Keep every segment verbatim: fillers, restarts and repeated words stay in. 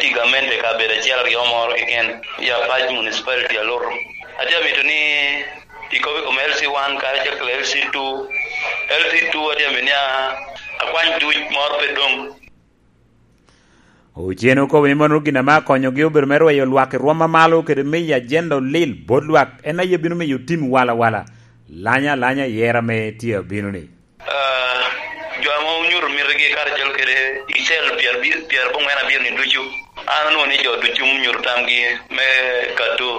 i gamente i kabedo acel aryo moro keken i Apac Municipality a Luru. Atye amito ni ikobo i kom L C one karacel kede L C two. L C two atye amito ni a-, akwany duc moro pe dong. Ocen okobo ni mano gin ame akonyogi obedo me rweyo lwak i rwom amalo kede miyo ajenda olil bot lwak, en aye bino miyo otim walawala, lanya alanya i yero ame tye abino-ni. Ah, jo ame onyuto mitigi karacel kede i cel pyer abi-, pyer aboŋwen abiro-ni ducu, an anwoŋo ni jo ducu onyuto tamgi me kato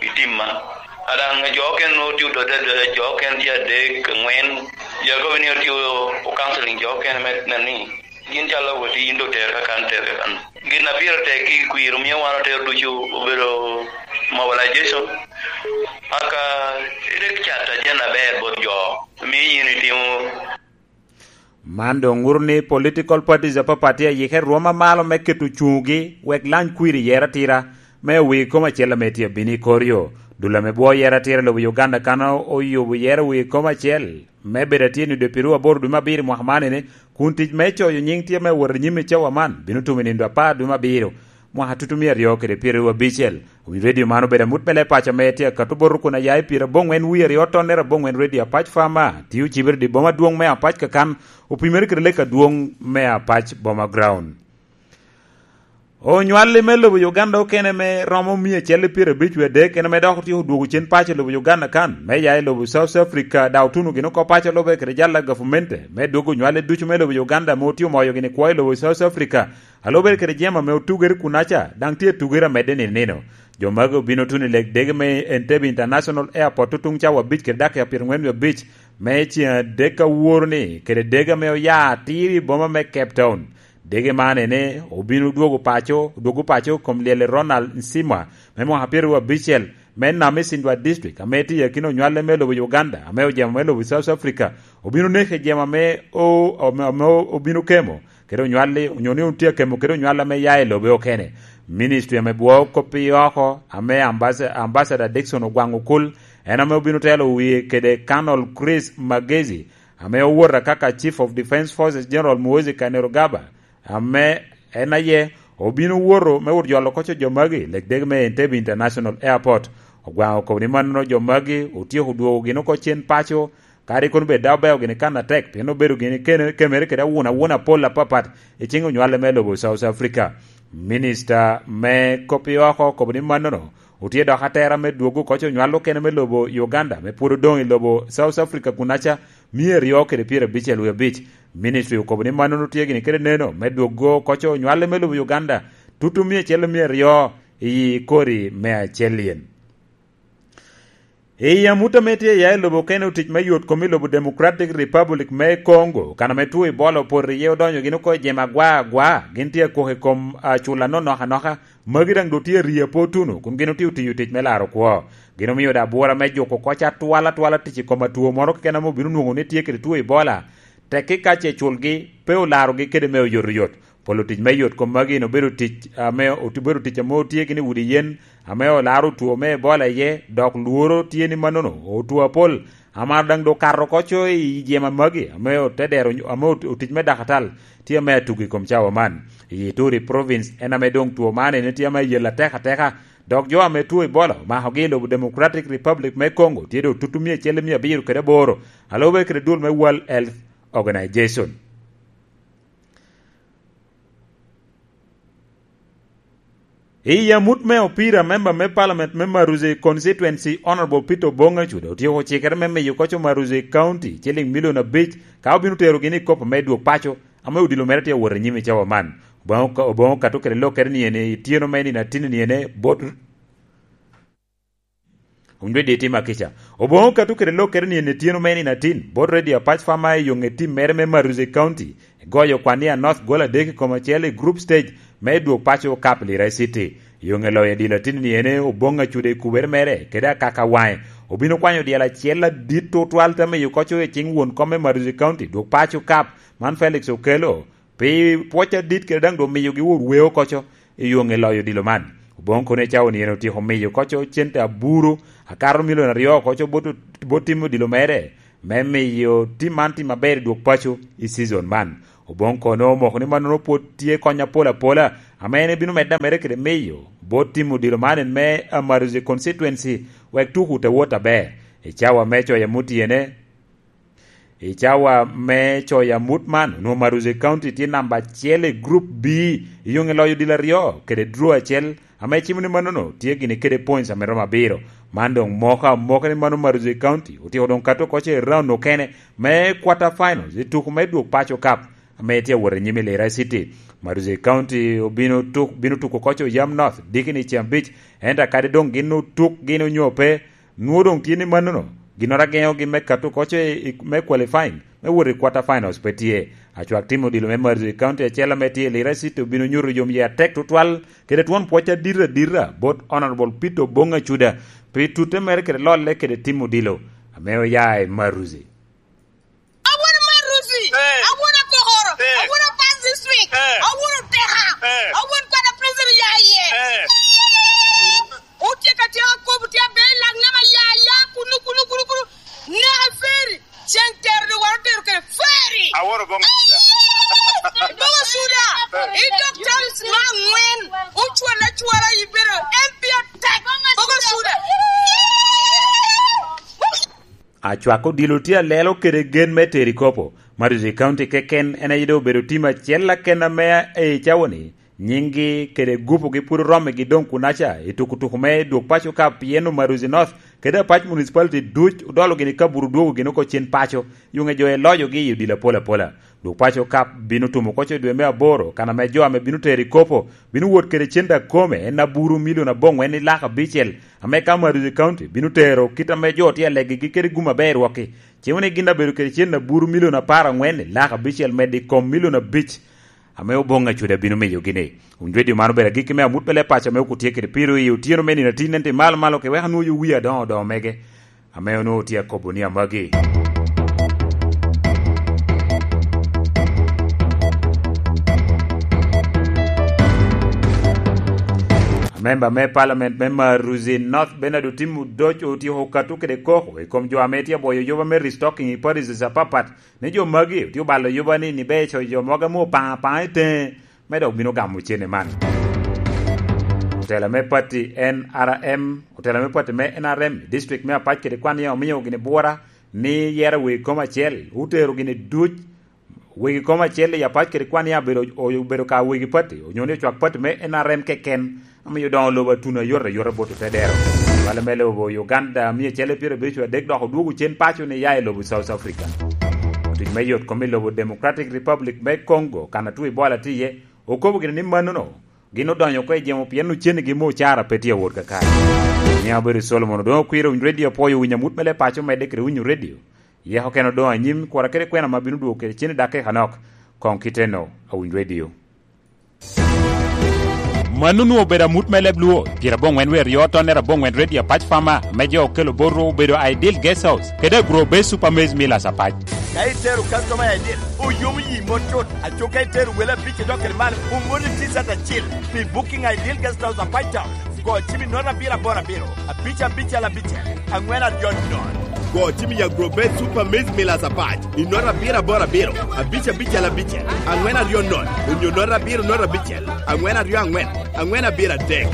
i timma. A daŋ jo okene nwoŋo tye odode adoda, jo okene tye adek, angwen, jo akobo ni otye o-, o counseling jo okene me nen ni gin calo woti yin doŋ ter kakan, ter kakan. Gin a pire tek i kwir omio wan otero ducu obedo mobilization. Aka rik cat ajen aber bot jo, mio yin itimo. Man doŋ ŋuto ni political parties apapat tye ayike rwom amalo me keto cuŋgi wek lany kwir i yero atira me wi kom acel ame tye abino i kor yo. Dul ame bwo yero atira i lobo Uganda kan oyubo yero wi kom acel me bedo atye nyo dwe pirwu aboro dwe me abiro i mwaka man ene, kun tic me coyo nyiŋ tye me wot i nyim i cawa man bino tumo i nindo apar dwe me abiro, mwaka tutu mia aryo kede pyeraryo abicel. Wi redio man obedo amut me leb paco ame tye akato bot kun aya i pyeraboŋwen wie aryo tonnere aboŋwen redio Apac Farmer, tio cibere i boma adwoŋ me Apac kakan, opimere kede lek adwoŋ me Apac Boma Ground. Onywalli me lobo Uganda okene me romo mia acel i pyerabic wie adek en ame dok otyeko dwogo cen paco i lobo Uganda kan, me ya i lobo South Africa, daŋ otuno gin oko paco lube kede jalla gavumenti me dwogo onywalli ducu me lobo Uganda ame otye omoyo gini kwo i lobo South Africa, a lube kede jemo ame otugere kunaca, daŋ tye atugere amedde nino nino. Jo magi obino tuno i leg dege me Entebbe International Airport tutuŋ cawa abic kede dakika pyerangwen wie abic me ceŋ adek aworo-ni, kede dege ame oya atir i boma me Cape Town. Dege man ene obino dwogo paco, dwogo paco kom lyel i Ronald Nsimwa me mwaka pyeraryo abicel me Namisindwa District, ame tye i akina onywale me lobo Uganda, ame ojemo me lobo South Africa, obino neko i jemo ame o-, ame, ame obino kemo kede onywalli, onyo ni otye akemo kede onywalli ame ya i lobe okene. Ministry ame bwoo kop i oko, ame Ambas-, Ambassador Dickson Ogwang Okul, en ame obino telo wie kede Colonel Chris Magezi, ame owota kaka Chief of Defence Forces General Muhoozi Kainerugaba, ame en aye obino woto me wot jolo koco jo magi, lek dege me Entebbe International Airport. Ogwang okobo ni mannono jo magi otyeko dwogo gin oko cen paco, kadi kono bed daŋ obeo gini kan atek, pien obedo gini kene-, kemere kede awuna awuna pol apapat i cing onywale me lobo South Africa. Minista me kop i oko okobo ni mannono otye dok atera me dwogo koco onywal okene me lobo Uganda, me pwod odoŋ i lobo South Africa kunaca, mia aryo kede pyerabicel wie abic. Ministry okobo ni mannono tye gini kede neno me dwogo koco onywale me lobo Uganda, tutu mia acel mia aryo i kori me acel yen. I amut ame tye ya i lobo okene otic me yot kom i lobo Democratic Republic me Congo, kan ame two Ebola opoto iye odonyo gin oko i jemo agwa agwa, gin tye akok i kom acula anonok anoka. Magi daŋ doŋ tye rii apo tuno, kun gin otye otiyo tic me laro kwo. Gin omio daŋ abwora me juko koc atwal atwala tic i kom atwo moro keken ame obino nwoŋo ni tye kede two Ebola. Tekki ka ce culgi, pe olarogi kede me oyotoyot. Polo tic me yot kom magi en obedo tic ame ot-, obedo tic ame otye gini udi yen ame olaro two me Ebola iye, dok lworo tye ni mannono otwo apol. Amar daŋ doŋ okato oko co i jema magi, ame ote dero, ame ot-, otic me dakatal tye ame atugo i kom cawa man. I Ituri Province en ame doŋ two man ene tye ame ayel atek ateka, dok jo ame two Ebola omakogi i lobo Democratic Republic me Congo tye doŋ tutu mia acel mia abiro kede aboro, a lube kede dul me World Health Organization. I amut me opira, member me parliament me Maruzi Constituency, Honorable Peter Obong Acuda, otyeko cikere me miyo koco Maruzi County ciliŋ milion abic, ka obino terogi ni i kop me dwog paco, ame odilo mere tye awot i nyim i cawa man. Obong, Obong okato kede lok kede ni ene i tyeno me nino atin ni ene bot Wun dwe diti makica. Oboŋo katu kede lok kede nino etyeno me nino atin, bot Radio Apac Fama i yo ŋe tim mere me Maruzi County, goyo kwan ni a North gol adek i kom acel i group stage me dwog paco Cup Lira City. Yo ŋe loyo dilo atin ni ene Oboŋo Acuda i kubere mere, kede akaka waŋe. Obino kwanyo dyel acel adit tutwal te miyo koco i cing won kom me Maruzi County, dwog paco Cup, man Felix Okello. Pi pwoc adit kede daŋ doŋ miyogi wot weo koco i yo ŋe loyo odilo man. Oboŋo kono i cawa ni en otyeko miyo koco cente aburu akato milion aryo koco bot, bot tim odilo mere, me miyo tim man tim aber i dwog paco i season man. Oboŋ kono omoko ni mannono pwod tye kony apol apola, ame en ebino medde ameda kede miyo bot tim odilo man en me Amaruzi constituency, wek tuku te wot aber. I cawa me coyo amut tyene, i cawa me coyo amut man, onwoŋo Amaruzi County tye namba acel i Group B, i yoŋ i loyo odilo aryo kede draw acel, ame cimo ni mannono tye gini kede points ame romo abiro. Man doŋ moko amoka ni mano Amaruzi County otyeko doŋ kato oko i round okene me quarter finals i tuko me dwog paco cup, ame tye awot anyim i Lira City. Amaruzi County obino tuk-, bino tuko oko i Oyam North dikini i ceng abic, ento kadi doŋ gin otuk gin onyo pe, nwoŋo doŋ tye ni mannono, ginnoro ageŋogi me kato oko i, i, me qualifying, me wot i quarter finals pe tye. Acwak tim odilo me Amaruzi County acel ame tye i Lira City obino nyuto yomyee atek tutwal, kede twon pwoc adit adita bot Honorable Peter Oboŋ Acuda pi tutte mere kede lolle kede tim odilo ame oya i Maruzi. Awon Maruzi, eh, awon Akokoro, eh, awon Apas District, eh, awon Oteka, eh, awon Kwada Prison ya iye. Eh. Utye ka tye akobo tye abe i lak nama ya, ya, kunu, kunu, kunu, kunu. Neka feri. Cen tero doŋ wan otero kede feri. Aworo boŋo suda. Boŋo suda. I dok talis ma angwen. Ocwal acwala ibedo M P atek. Boŋo suda. Acwak odilo tye alelo kede gen me tero i kopo. Maruzi County keken en aye doŋ obedo tim acel aken ame i cawa-ni. Nyiŋgi kede gupugi pwod oromogi doŋ kunaca i tukutuku me dwog paco ka pien Omaruzi North kede Apac Municipality duc odolo gini kaburu dwogo gini oko cen paco, yuŋe jo eloyogi i odilo apol apola. Dwog paco ka bino tumo oko i dwe me aboro, kan ame jo ame bino tero i kopo bino wot kede cen akome en aburu milion aboŋwen i lak abicel, ame ka Omaruzi County bino tero kit ame jo tye alegigi kede gum aber rwokki, cimo ni gin abedo kede cen aburu milion apar angwen i lak abicel medde i kom milion abic. Ame Oboŋ Acuda bino miyogi ni. Winy redio man obedo agikki me amut me leb paco ame okutye kede piro i otyeno me nino atin, ento i malo malo ke wek anwoŋo yo wie adoŋo odoŋo mege, ame onwoŋo tye akobo ni amagi. Amemba me Parliament me Maruzi North, Bernard Otim Odoc, otyeko kato kede koko i kom jo ame tye abwoyo yoba me restocking i parishes apapat, ni jo magi otye obalo yuba ni, ni beco jo mogo ame opaŋo apaŋa i teŋe, me dok bino gamo cene man. Otela me pati N R M, otela me pati me N R M i district me Apac kede kwan ya omiyo gini bwora ni yero wegi kom acel, otero gini duc wegi kom acel i Apac kede kwan ya obedo, obedo ka wegi pati, onyo ni ocwak pati me N R M keken. Amiyo doŋo lobo atuno ayot ayot bot otedero. Lwale me lobo Uganda mia acel pyerabiriyo adek dok odwogo cen paco ni ya i lobo South Africa. Otic me yot kom i lobo Democratic Republic me Congo, kan atwo Ebola tye iye, okobo gini ni mannono gin odonyo oko i jemo pien ocennigi me ocara pe tye awot kakare. Ni abedo Solomon Odongo Kwiro, Winy Radio, apwoyo winyo amut me le paco medde kede winyo radio. Yeko kene odoŋ anyim, kura kede kwena ma bino dwogo kede cen i dakika nok. Koŋ kiteno, Awiny Radio. Mano onwoŋo obedo amut me leb Luo, pyerabongwen wie aryo tonnere abongwen Redio Apac Farmer, ame jo okelo botwu obedo Ideal Guest House, kede Agro Base Super Maize Millers Apac. Ka itero customer Ideal, oyomo yi mot cut, aco ka itero wele abic idok kede malo, omoni T-shirt acel pi Booking Ideal Guest House Apac Town. Go cim i note abiro aboro abiro, abic abicel abicel, angwen aryo nono. Go cim i Agrobet Super Maize Millers Apac i note abiro aboro abiro, abic abicel abicel, angwen aryo nono, onyo note abiro note abicel, angwen aryo angwen, angwen abiro adek.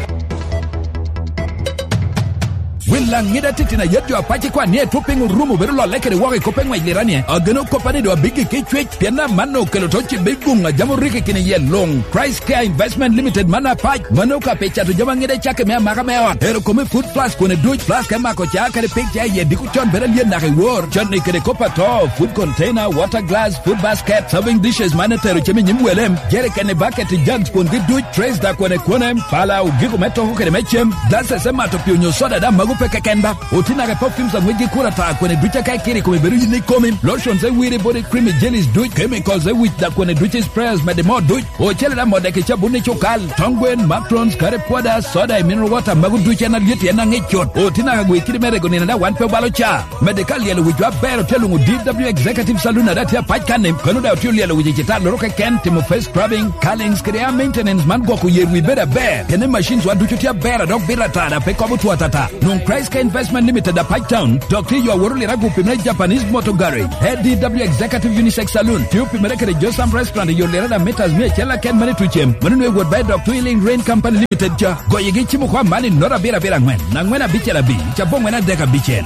Wel aŋida titino a yat jo apac ikwan ni etwo piny orumo bedo lolle kede woko i kop eŋwec liranie. Ageno koppa ni doŋ abiggi ki cwec, pien amanno okelo to cibbe i guŋ a jam orikki kine iye luŋ. Christ Care Investment Limited man apac, mano ka pe cato jami aŋida i cakke me amaka me ot. Ero kome food plus kwene duc, plus ka imako ca kadi pig ca iye diko con bedo alyen naka i wor. Con i kede kop ato, food container, water glass, food basket, serving dishes man etero cem i nyim welem, jerikeni, baketi, jugs kwongi duc, trays da kwene kwene, pala, ogiko me toko kede me cem, glasses me mato pi onyo soda da mago pe keken ba. Oti naka perfumes aŋwec gi kura ta kwene duc aka ikiri kome bedo yin ikomi, lotions e wiri body creamy jellies duc, chemicals e wic da kwene duc sprayers mede mo duc. Ocele da modde ki cabun i cukal, tong gwen, macarons, curry powder, soda i mineral water, mago duc en alyet en aŋic cut. Oti naka gwe kidi me rego nino da wan pe obalo ca. Mede ka lyelo wicwa aber otye luŋo D W Executive Saloon ada tye apac kan-ni, kano da otye olyelo wic i citalloro keken, timo face scrubbing, curlings kede hair maintenance man gwoko yer wi bedo aber. Kene machines wa ducu tye aber a dok bito ata da pe kobo two atata. Nwoŋo Price Care Investment Limited, Apac Town, dok tye yo aworo lira gupi me Japanese Motor Garage. A D W Executive Unisex Saloon, tye opimere kede Josam Restaurant i yo lira da mitas mia acel aken mene i Tucem. Mano nwe wot ba i dok Twilling Rain Company Limited ca. Goyigi cimo kwa man i nota abiro abiro angwen, angwen abicel abic, ca bongwen adek abicel.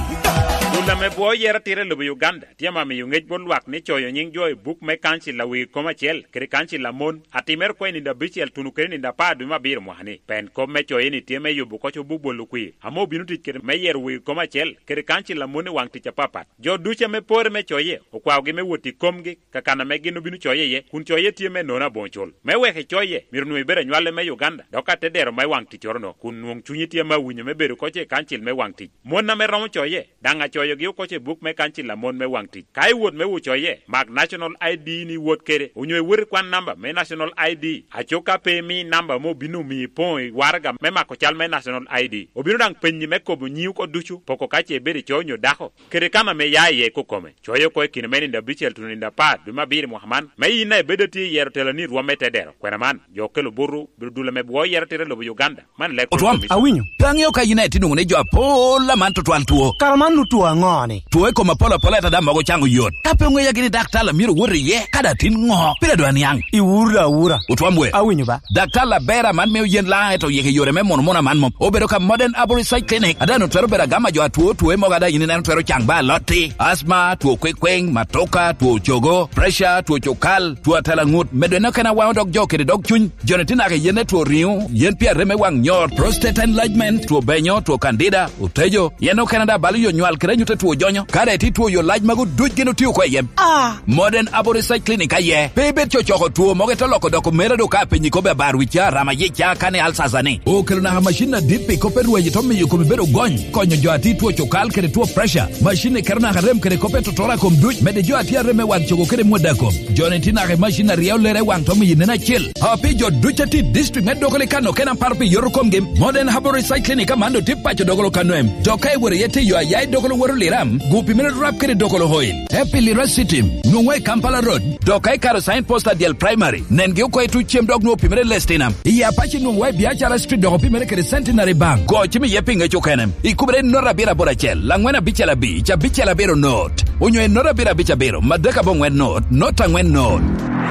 Dul ame bwo yero tira i lobo Uganda. Tye ame amiyo ŋec bot lwak ni coyo nyiŋ jo i buk me kancil a wegi kom acel kede kancil a mon, atimere oko i nino abicel tuno kede nino apar dwe me abiro mwaka-ni. Pien kop me coye-ni tye me yubo oko cobo bwolo kwir, ame obino tic kede me yero wegi kom acel kede kancil a mon i waŋ tic apapat. Jo ducu ame pore me coye, okwaogi me wot i komgi, kakan ame gin obino coye iye, kun coye tye me nono aboŋo cul. Me wek icoye, myero nwoŋ ibed anywale me Uganda, dok atedero me waŋ ticcoro-no, kun nwoŋ cunyi tye ame awinyo me bedo oko i kancil me waŋ tic. Mon ame romo coye, daŋ acoyogi oko i buk me kancil a mon me waŋ tic. Ka iwot me wot coye, mak National I D ni iwot kede, onyo iwot ikwan namba me National I D. Aco ka pe imi namba ame obino omiyo ipoŋo i waraga me mako cal me National I D, obino daŋ penyi me kobo nyiŋi oko ducu, poko ka ce ibedo i coyo onyo dako, kede kan ame ia iye kokome. Coye oko i kine me nino abicel tuno nino apar dwe me abiro i mwaka man, me yin a ibedo atye i yero teloni i rwom me tedero. Kwena man, jo okelo buto, bino dul ame bwo yero tira i lobo Uganda. Man lek Otwam, awinyo. Pe aŋeo ka yin aye tye nwoŋo ni jo apol aman tutwal two. Kara man nu two aŋo-ni? Two i kom apol apol ata daŋ mogo caŋ oyot. Ka pe oŋeya gini daktar a myero wot iye, ka daŋ tin ŋo? Pire dwa niaŋ. Iwuro da awura. Otwam we. Awinyo ba. Daktar aber aman mio yen laŋ eto yeke yore me mono mono aman mom. Obedo ka Modern Arborist Side Clinic. Ada no twero bedo agama jo atwo two mogo ada yin ineno twero caŋ ba alotti. Asma, two kwekweŋ, matoka, two cogo, pressure, two cukal, two atela ŋut. Medo en okene awaŋo dog jo kede dog cuny. Joni tye naka i yen me two riŋo, yen pi arem me waŋ nyor, prostate enlargement, two benyo, two candida, otejo, yen okene daŋ balo yo nywal kede anyut a two jonyo. Ka daŋ itye two yo lac magu duc gin otio oko i yem. Ah! Modern Arborist Clinic aye. Pe ibed cocoko two mogo ite loko doko mere do ka penyi kobbe abar wicca, rama yica, kani alsasa ni. Okelo naka macin adit pi kop me rweny ito miyo kome bedo gony, konyo jo a tye two cukal kede two pressure. Macin ni keto naka rem kede kop me totoro a kom duc, medde jo a tye arem me wan cogo kede mwada kom. Joni tye naka i macin a ryeo lere i waŋ to miyo nen acil. A pi jo duc a tye i district me Dokolo i kano kena paro pi yoto komgi, Modern Herbal Recycling i Kamando tye paco Dokolo kano em. Dok ka iworo iye tiyo aya i Dokolo woro Liram, gupi mere rap kede Dokolo Oil. Epi Lira City, nwoŋwa i Kampala Road, dok ka ikaro sign post adyel primary, nengi oko i tuc cem dok nwoŋo opimere Lestina. I Apac nwoŋwa i Biacara Street dok opimere kede Centenary Bank. Go cim iye pi ŋec okene. Ikubere i not abiro aboro acel, angwen abicel abic, abicel abiro not. Onyo i not abiro abic abiro, madek abongwen not, not angwen not.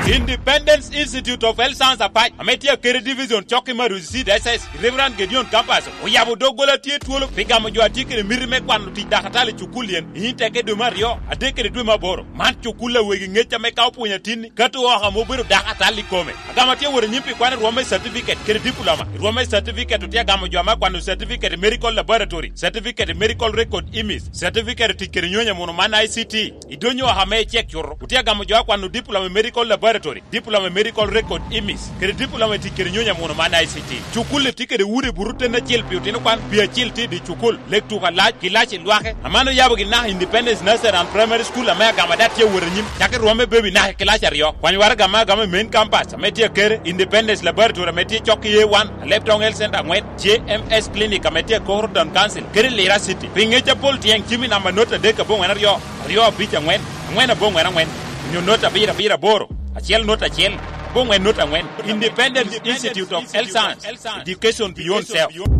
Independence Institute of Health Science Apac, ame tye akede division cok i Maruzi Seed S S, i Reverend Gideon Campus, oyabo doggola tye twolo pi gamo jo a tye kede miti me kwano tic dakatali i cukul yen, i teke dwe me aryo, adek kede dwe me aboro. Man cukul a wegi ŋec ame ka opwonyo atinni, kato oko ame obedo dakatali i kome. Agamo tye wot anyim pi kwano i rwom me certificate kede diploma. I rwom me certificate otye agamo jo ame akwano certificate i medical laboratory, certificate i medical record image, certificate i tic kede nyonyo muno man I C T. I donyo oko ame icek cuto, otye agamo jo akwano diploma i medical laboratory, diploma i medical record image, kede diploma i tic kede nyonyo muno man I C T. Cukul-li tye kede udi buto ten acel pi otino kwan, pi acil tye i dye cukul, lek tuko alac, kilaci lwake. Aman oyabo gin naka Independence Nursery and Primary School ame agamo ada tye wot anyim. Cak i rwom me baby naka i kilaci aryo. Kwany waraga ame agamo i main campus ame tye akere, Independence Laboratory ame tye cok i A one, Aleptong Health Center angwen, J M S Clinic ame tye akoro Town Council, kede Lira City. Pi ŋec apol tyeng cim i namba not adek abongwen aryo, aryo abic angwen, angwen abongwen angwen, onyo not abiro abiro aboro, acel not acel, abongwen not angwen. Independence Institute of Health Science, Education Beyond Self.